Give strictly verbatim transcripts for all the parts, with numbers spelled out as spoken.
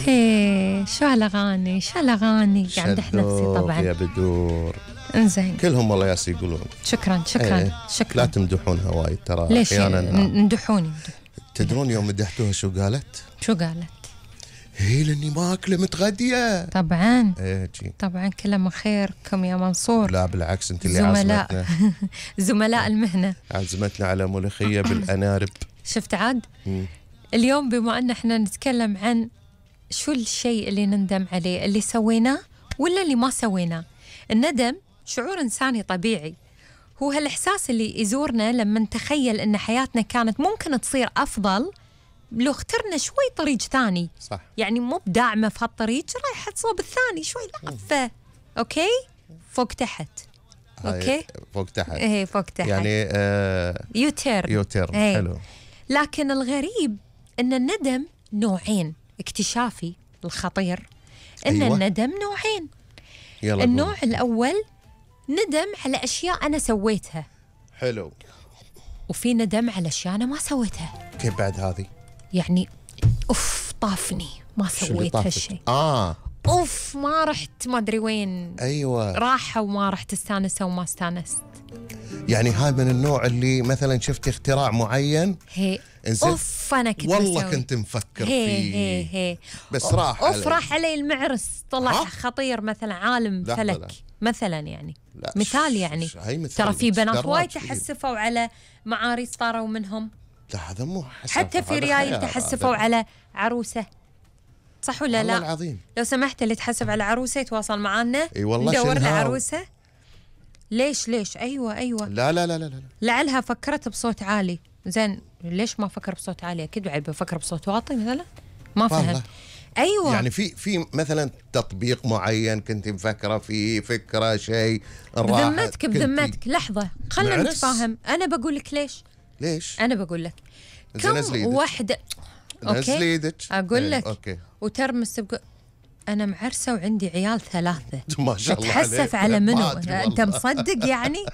هي شو هالأغاني شو هالأغاني قاعد أمدح نفسي طبعا يا بدور. انزين كلهم والله ياسي يقولون شكرا شكرا ايه. شكرا. لا تمدحونها وايد ترى ليش احيانا. ندحوني؟ تدرون يوم مدحتوها شو قالت؟ شو قالت؟ هي لاني ماكله متغديه. طبعا ايه جي. طبعا كله من خيركم يا منصور. لا بالعكس انت اللي زملاء عزمتنا زملاء المهنه عزمتنا على ملوخيه بالانارب. شفت عاد؟ مم. اليوم بما ان احنا نتكلم عن شو الشيء اللي نندم عليه، اللي سويناه ولا اللي ما سويناه. الندم شعور إنساني طبيعي، هو هالإحساس اللي يزورنا لما نتخيل أن حياتنا كانت ممكن تصير أفضل لو اخترنا شوي طريق ثاني. صح. يعني مو بداعمة في هالطريق، رايحة تصوب الثاني شوي لفة. أوكي فوق تحت. أوكي فوق تحت. إيه فوق تحت يعني آه يوتيرن يوتيرن. إيه. حلو. لكن الغريب أن الندم نوعين. اكتشافي الخطير أن أيوة. الندم نوعين. يلا النوع قول. الأول ندم على أشياء أنا سويتها. حلو. وفي ندم على أشياء أنا ما سويتها. كيف بعد هذه؟ يعني أوف طافني ما سويت هالشيء. آه أوف ما رحت ما أدري وين. أيوة. راحة وما رحت استانسة وما استانست. يعني هاي من النوع اللي مثلا شفت اختراع معين هي إنزين. أوف أنا كنت والله بسوي. كنت مفكر هي فيه هي هي بس راح أوف علي. راح علي المعرس طلع ها؟ خطير مثلا عالم لا فلك لا. مثلا يعني لا. مثال يعني ش- هاي مثال ترى في بنات دراج وايد فيه. تحسفوا على معاريس طاروا منهم. لا هذا مو حسب. حتى في هذا ريايل خيال تحسفوا هذا. على عروسة. صح ولا والله لا؟ العظيم. لو سمحت اللي تحسب على عروسة يتواصل معنا. اي والله ندور له شنهاو. عروسة. ليش ليش أيوة أيوة. لا لا لا لا لا. لعلها فكرت بصوت عالي. زين ليش ما فكر بصوت عالي؟ أكيد بعد بفكر بصوت واطي مثلا. ما فهم. والله. أيوة يعني في في مثلا تطبيق معين كنت مفكرة فيه فكرة شيء بذمتك بذمتك لحظة خلنا معرس؟ نتفاهم. أنا بقول لك ليش. ليش؟ أنا بقول لك زين كم نزلي إيدك. وحدة. نزلي أوكي ايدك. أقول إيه، لك اوكي. وترمس بقول أنا معرسة وعندي عيال ثلاثة. ما شاء الله عليك. تتحسف على منو؟ ما أدري أنت والله. مصدق يعني؟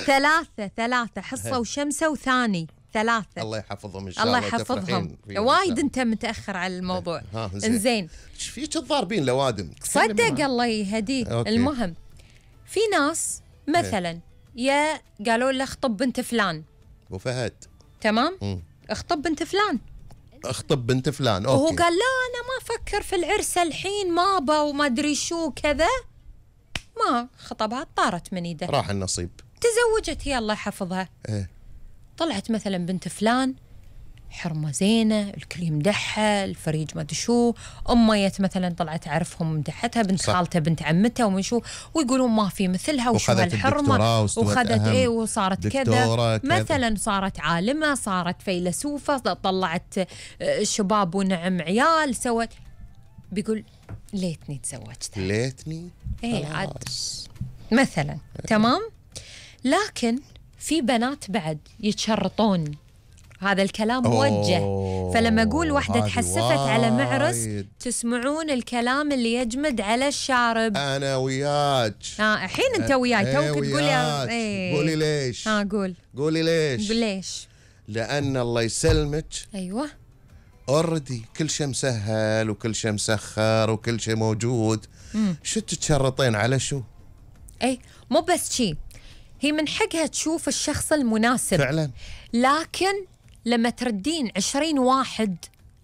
ثلاثة ثلاثة حصة وشمسة وثاني ثلاثة. الله يحفظهم ان شاء الله الله. يحفظهم. تفرحين فيهم وايد إن شاء أنت متأخر على الموضوع. ها، زين. إنزين ايش فيك تضاربين لوادم؟ صدق الله يهديك. أوكي. المهم في ناس مثلا يا قالوا له اخطب بنت فلان. ابو فهد. تمام مم. اخطب بنت فلان. اخطب بنت فلان. وهو اوكي. قال لا انا ما افكر في العرس الحين مابا وما ادري شو كذا. ما خطبها طارت من ايده. راح النصيب. تزوجت هي الله يحفظها. ايه. طلعت مثلا بنت فلان حرمه زينه الكل يمدحها الفريج ما ادري شو. اميت مثلا طلعت اعرفهم مدحتها بنت صح. خالتها بنت عمتها ومن شو ويقولون ما في مثلها وشو وخذت هالحرمه الدكتوراه واستوت وخذت أهم ايه وصارت كذا دكتورة كذا. مثلا صارت عالمه صارت فيلسوفه طلعت آه، شباب ونعم عيال سوت. بيقول ليتني تزوجت. ليتني. ايه عاد خلاص. مثلا تمام. لكن في بنات بعد يتشرطون. هذا الكلام موجه. أوه، فلما اقول واحده هذه تحسفت على معرس وايد. تسمعون الكلام اللي يجمد على الشارب. انا وياك. ها الحين انت وياي إيه توك تقول يا وياك. ايه. قولي ليش. ها قول قولي ليش. قول ليش. لان الله يسلمك ايوه اوريدي كل شيء مسهل وكل شيء مسخر وكل شيء موجود. مم. شو تتشرطين على شو؟ اي مو بس شي هي من حقها تشوف الشخص المناسب فعلا. لكن لما تردين عشرين واحد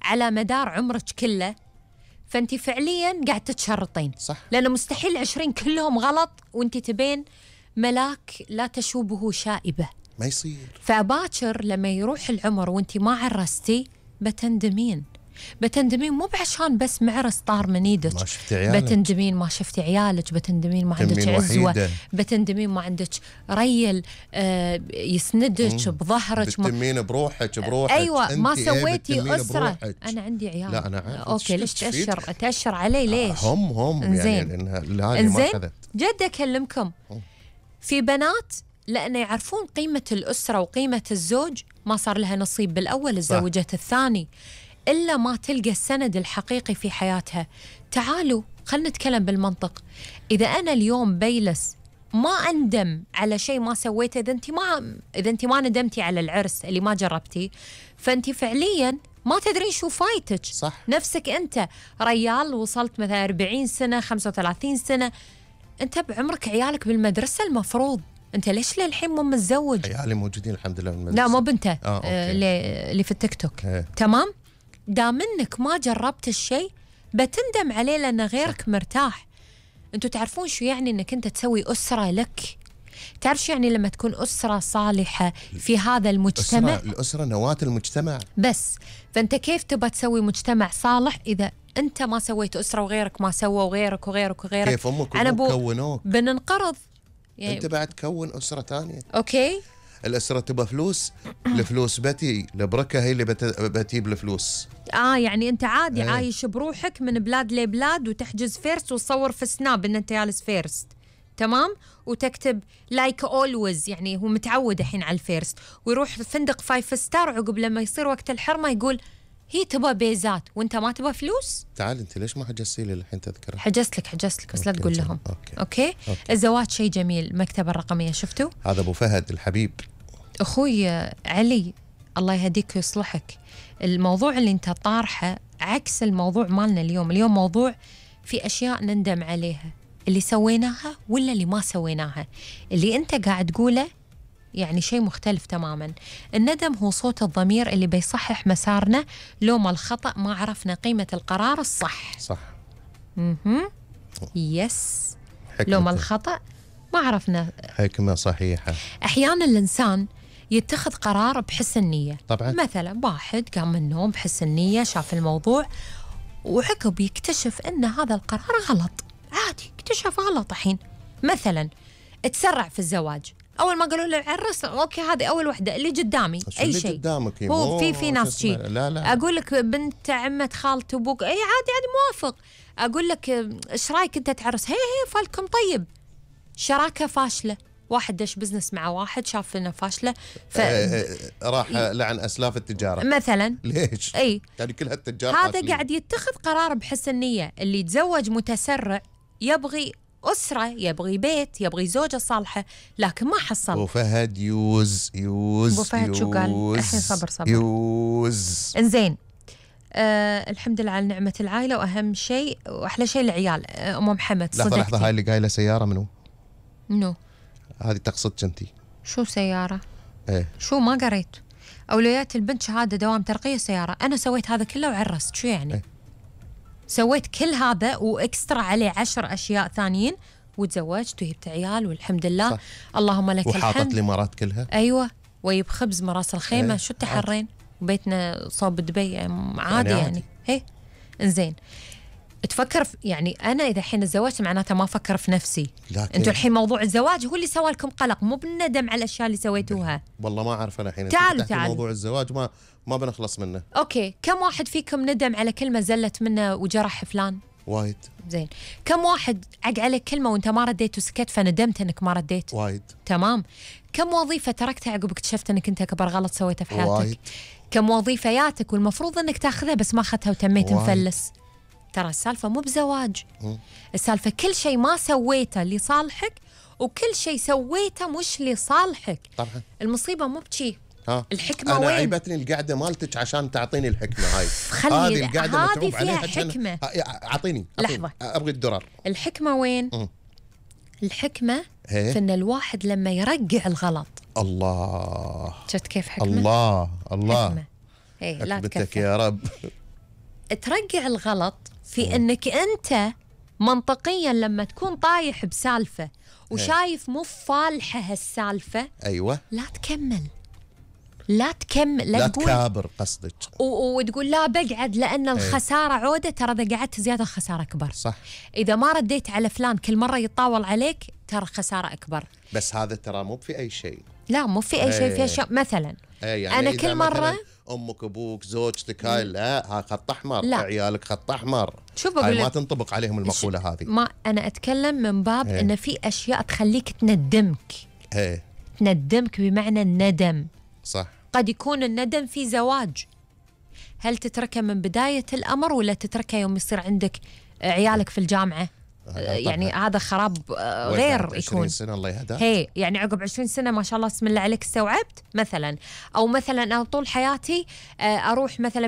على مدار عمرك كله فأنت فعليا قاعد تتشرطين. صح. لأنه مستحيل عشرين كلهم غلط وأنت تبين ملاك لا تشوبه شائبة. ما يصير. فباكر لما يروح العمر وأنت ما عرستي بتندمين. بتندمين مو بعشان بس معرس طار من ايدك. ما شفتي عيالك. بتندمين ما شفتي عيالك. بتندمين ما عندك تنمين عزوة وحيدة. بتندمين ما عندك ريل آه يسندك بظهرك. ما بتتمين بروحك بروحك. ايوه ما أنت إيه سويتي بتتمين اسره. بروحك. انا عندي عيال. لا أنا عارف. اوكي إيش ليش تستفيد؟ تاشر تاشر علي ليش؟ هم هم إنزين. يعني لأنها هذه ما انزين أخذت. جد اكلمكم في بنات لأن يعرفون قيمة الأسرة وقيمة الزوج ما صار لها نصيب بالأول تزوجت الثاني إلا ما تلقى السند الحقيقي في حياتها. تعالوا خلنا نتكلم بالمنطق. إذا أنا اليوم بيلس ما أندم على شيء ما سويته. إذا أنت ما إذا أنت ما ندمتي على العرس اللي ما جربتي فأنت فعليا ما تدرين شو فايتك. صح. نفسك أنت ريال وصلت مثلا أربعين سنة خمسة وثلاثين سنة، أنت بعمرك عيالك بالمدرسة المفروض، أنت ليش للحين مو متزوج؟ عيالي موجودين الحمد لله بالمدرسة. لا مو بنته آه، آه اللي في التيك توك. هي. تمام. دام انك ما جربت الشيء بتندم عليه لأن غيرك صح. مرتاح. انتوا تعرفون شو يعني انك انت تسوي أسرة لك؟ تعرف شو يعني لما تكون أسرة صالحة في هذا المجتمع؟ الأسرة, الأسرة نواة المجتمع. بس فأنت كيف تبى تسوي مجتمع صالح إذا أنت ما سويت أسرة وغيرك ما سوى وغيرك وغيرك وغيرك؟ كيف أمك وأبوك كونوك بننقرض يعني. أنت بعد تكون أسرة تانية. أوكي. الأسرة تبى فلوس، الفلوس بتي البركة هي اللي بت... بتجيب الفلوس. آه يعني أنت عادي ايه. عايش بروحك من بلاد لبلاد وتحجز فيرست وتصور في سناب إن أنت جالس فيرست، تمام، وتكتب لايك اولويز، يعني هو متعود الحين على الفيرست، ويروح فندق فايف ستار عقب لما يصير وقت الحرمة يقول هي تبى بيزات وأنت ما تبى فلوس. تعال أنت ليش ما حجزتي لي الحين تذكرة؟ حجزت لك حجزت لك بس لا تقول لهم. أوكي. أوكي. أوكي. الزواج شيء جميل. المكتبة الرقمية شفتوا؟ هذا أبو فهد الحبيب أخوي علي الله يهديك ويصلحك. الموضوع اللي أنت طارحه عكس الموضوع مالنا اليوم. اليوم موضوع في أشياء نندم عليها، اللي سويناها ولا اللي ما سويناها. اللي أنت قاعد تقوله يعني شيء مختلف تماما. الندم هو صوت الضمير اللي بيصحح مسارنا لو ما الخطأ ما عرفنا قيمة القرار الصح. صح. اها يس. لو ما الخطأ ما عرفنا. حكمة صحيحة. أحيانا الإنسان يتخذ قرار بحسن نية. طبعا. مثلا واحد قام من النوم بحسن نية، شاف الموضوع وعقب يكتشف أن هذا القرار غلط. عادي اكتشف غلط. الحين مثلا تسرع في الزواج، اول ما قالوا له عرس اوكي هذه اول وحده اللي قدامي اي شيء قدامك هو في في ناس شيء. لا لا اقول لك بنت عمه خالته ابوك اي عادي عادي موافق. اقول لك ايش رايك انت تعرس؟ هي هي فالكم طيب. شراكه فاشله، واحد دش بزنس مع واحد شاف انه فاشله ف... راح لعن اسلاف التجاره مثلا. ليش؟ اي يعني كل هالتجار هذا فاشلين. قاعد يتخذ قرار بحسن نيه. اللي يتزوج متسرع يبغي أسرة، يبغي بيت، يبغي زوجة صالحة، لكن ما حصل. أبو فهد يوز يوز أبو فهد شو قال؟ الحين صبر صبر يوز. إنزين. آه الحمد لله على نعمة العائلة، وأهم شيء وأحلى شيء العيال. آه أم محمد صدقتي. لحظة لحظة، هاي اللي قايلة سيارة منو؟ منو؟ هذه تقصدك أنتي. شو سيارة؟ إيه. شو ما قريت؟ أولويات البنت شهادة دوام ترقية سيارة. أنا سويت هذا كله وعرست. شو يعني؟ إيه؟ سويت كل هذا وإكسترا عليه عشر أشياء ثانيين وتزوجت وجبت عيال والحمد لله. صح. اللهم لك الحمد. وحاطت الإمارات كلها. أيوة ويب خبز مراس الخيمة. ايه. شو التحرين؟ وبيتنا صوب دبي عادي يعني, يعني. هي إنزين تفكر في يعني أنا إذا الحين تزوجت معناته ما أفكر في نفسي. أنتوا الحين موضوع الزواج هو اللي سوى لكم قلق، مو بالندم على الأشياء اللي سويتوها. والله ما أعرف أنا الحين. تعالوا تعالوا موضوع الزواج ما ما بنخلص منه. أوكي، كم واحد فيكم ندم على كلمة زلت منه وجرح فلان؟ وايد. زين، كم واحد عق عليك كلمة وأنت ما رديت وسكت فندمت أنك ما رديت؟ وايد. تمام. كم وظيفة تركتها عقب اكتشفت أنك أنت أكبر غلط سويته في حياتك؟ وايد. كم وظيفة ياتك والمفروض أنك تاخذها بس ما أخذتها وتميت مفلس؟ ترى السالفة مو بزواج، السالفة كل شيء ما سويته لصالحك وكل شيء سويته مش لصالحك. طبعا. المصيبة مو بشي. ها. الحكمة أنا وين؟ عيبتني القعدة مالتك عشان تعطيني الحكمة هاي. هذه القعدة هذه فيها حكمة. أعطيني لحظة، أبغي الدرر. الحكمة وين؟ م. الحكمة هي. في إن الواحد لما يرجع الغلط. الله. شفت كيف حكمة؟ الله الله. حكمة. إيه لا تكفى يا رب. ترجع الغلط في انك انت منطقيا لما تكون طايح بسالفه وشايف مو فالحه هالسالفه. ايوه. لا تكمل، لا تكمل، لا, لا تكابر قصدك وتقول لا بقعد لان الخساره عوده. ترى اذا قعدت زياده الخساره اكبر. صح. اذا ما رديت على فلان كل مره يتطاول عليك ترى خساره اكبر. بس هذا ترى مو في اي شيء. لا مو في اي شيء. في اشياء مثلا يعني انا كل مره امك ابوك زوجتك هاي لا ها خط احمر. لا. عيالك خط احمر. شوف بقول هاي ما تنطبق عليهم المقوله هذه. ما انا اتكلم من باب هي. ان في اشياء تخليك تندمك. هي. تندمك بمعنى الندم. صح. قد يكون الندم في زواج، هل تتركه من بدايه الامر ولا تتركه يوم يصير عندك عيالك في الجامعه؟ يعني هذا خراب غير يكون. عشرين سنة الله يهداك. هي يعني عقب عشرين سنة ما شاء الله بسم الله عليك استوعبت مثلا. أو مثلا أنا طول حياتي أروح مثلا